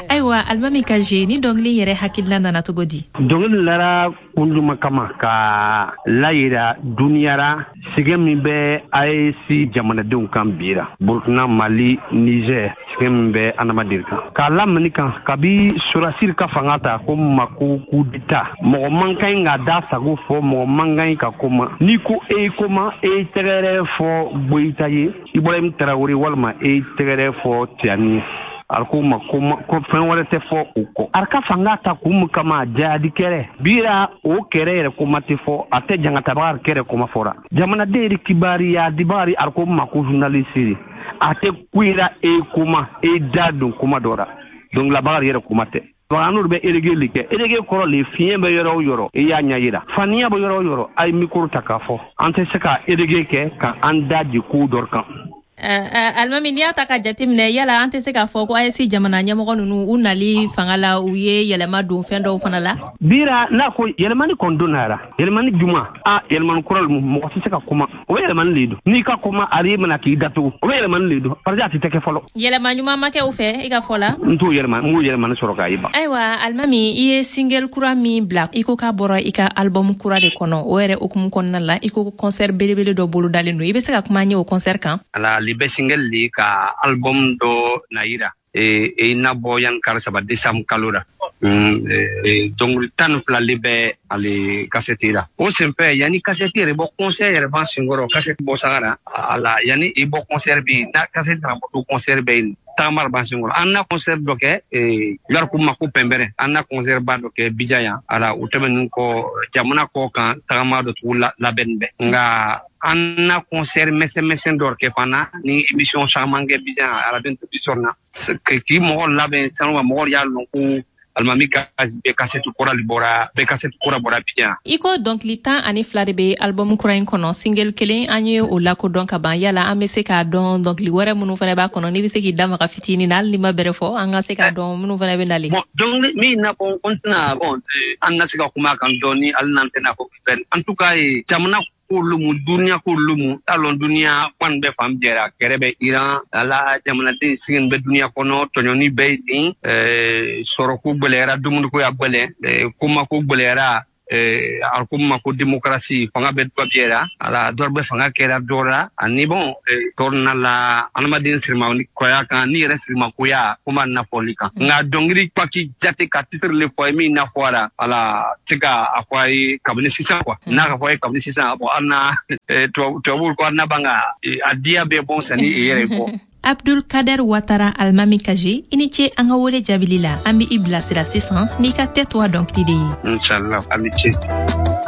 Ayiwa, Alimami Kaje, ni dɔnkili yɛrɛ hakilina nana cogo di? Dɔnkili lara kun juma kama ka layira duniya ra sɛgɛn min bɛ AES jamanadenw kan bi ra, Burkina, Mali, Niger, sɛgɛn min bɛ adamaden kan, k'a lamini kan kabi sɔrɔdasi ka fanga ta ko ma ko coup d'état. Mɔgɔ man kan ɲi ka da sago fɔ, mɔgɔ man kan ɲi ka kuma. N'i ko e ye kuma, e ye tɛgɛrɛ fɔ Goyita ye, Ibrahim Traoré, walima e ye tɛgɛrɛ fɔ Tiani ye, a ko ma ko fɛn wɛrɛ tɛ fɔ o kɔ. A ka fanga ta kun min kama, jihadi kɛrɛ bira, o kɛrɛ yɛrɛ kuma tɛ fɔ, a tɛ jangatabaga kɛrɛ kuma fɔra. Jamanaden yɛrɛ kibariya dibagari, a ko ma ko journaliste, a tɛ kuyira e kuma, e da don kuma dɔ la. Donc labaga yɛrɛ kuma tɛ. An n'olu bɛ erege le kɛ. Erege kɔrɔ le, fiɲɛ bɛ yɔrɔ o yɔrɔ, i y'a ɲɛ yira. Faniya bɛ yɔrɔ o yɔrɔ, a ye micro ta k'a fɔ. An tɛ se ka erege kɛ ka an da di ko dɔ kan. Alimami, n'i y'a ta ka jateminɛ, yala an tɛ se k'a fɔ ko AES jamana ɲɛmɔgɔ ninnu, u nali fanga la, u ye yɛlɛma don fɛn dɔw fana la? Bira n'a ko yɛlɛmani kɔni donna yɛrɛ, yɛlɛmani juma a yɛlɛmani kura, mɔgɔ tɛ se ka kuma. O bɛ yɛlɛmani le don. N'i ka kuma, a mana k'i datugu, o bɛ yɛlɛmani le don, parce que a tɛ kɛ fɔlɔ. Yɛlɛma ɲuman ma kɛ u fɛ i ka fɔ la? N t'o yɛlɛma, n b'o yɛlɛmani sɔrɔ k'a ye ban. Ayiwa, Alimami, i ye single kura min bila, i ko k'a bɔra i ka album kura de kɔnɔ. O yɛrɛ hukumu kɔnɔna la, i ko concert belebele dɔ bolodalen don. I bɛ se ka kuma an ye o concert kan? Ala li bɛ single le ka album dɔ na yira e na bɔ yan kari 3 décembre kalo la. Dɔnkili 12 le bɛ ale kasɛti la. O senfɛ, yanni kasɛti yɛrɛ bɔ, concert yɛrɛ b'an senkɔrɔ. Kasɛti bɔ sagara a la, yanni i bɔ concert bɛ yen, n'a kasɛti nana bɔ to, concert bɛ yen, tagama b'an senkɔrɔ. An na concert dɔ kɛ yɔrɔ ko ma ko pɛnbɛrɛ, an na concert ba dɔ kɛ Bija yan. Ala o tɛmɛnen kɔ, jamana kɔ kan tagama dɔ tugu labɛnni bɛ, nka an na concert misɛn misɛn dɔ kɛ fana ni émission caman kɛ Bija radio télévision na, k'i mɔgɔ labɛn sanu ka mɔgɔ y'a lɔn ko Alimami ka bɛɛ kasɛti kura bɔra, bɛɛ kasɛti kura bɔra Bija. I ko dɔnkili 12 de bɛ album kura in kɔnɔ. Single kelen, an ye o lakodɔn ka ban. Yala an bɛ se k'a dɔn dɔnkili wɛrɛ minnu fana b'a kɔnɔ? N'i bɛ se k'i da maga fitinin na, hali n'i ma bɛrɛ fɔ, an ka se k'a dɔn minnu fana bɛ nalen. Bon, dɔnkili min na fɔ, n tɛna, bon, an na se ka kuma a kan dɔɔni, hali n'an tɛna fɔ bɛɛ. En tout cas, jamana k'olu mu, duniya k'olu mu t'a lɔn. Duniya kɔni bɛ fan jɛra, kɛrɛ bɛ Iran ala, jamanaden sigin bɛ duniya kɔnɔ, tɔɲɔni bɛ yen, sɔrɔko gwɛlɛyara, dumuniko ya gwɛlɛn, komako gwɛlɛyara. A ko ma ko démocratie fanga bɛ dɔ biyɛra ala, dɔ bɛ fanga kɛra dɔ la, ani bon tɔrɔna la adamaden sirima kɔya kan ni yɛrɛ sirimakoya ko ma nafɔli kan. Nka dɔnkili paki jate ka titre le fɔ ye min nafɔra ala se ka a fɔ a ye kabini sisan quoi. N'a ka fɔ a ye kabini sisan, bon, an na tubabuw ko an na ban ka a diya bɛɛ bɔn sanni i yɛrɛ bɔ. Abdul Kader Watara, Almami Kaje, i ni ce an ka wele jaabili la. An bɛ i bilasira sisan n'i ka Tais-toi dɔnkili de ye. Inshallah, a ni ce.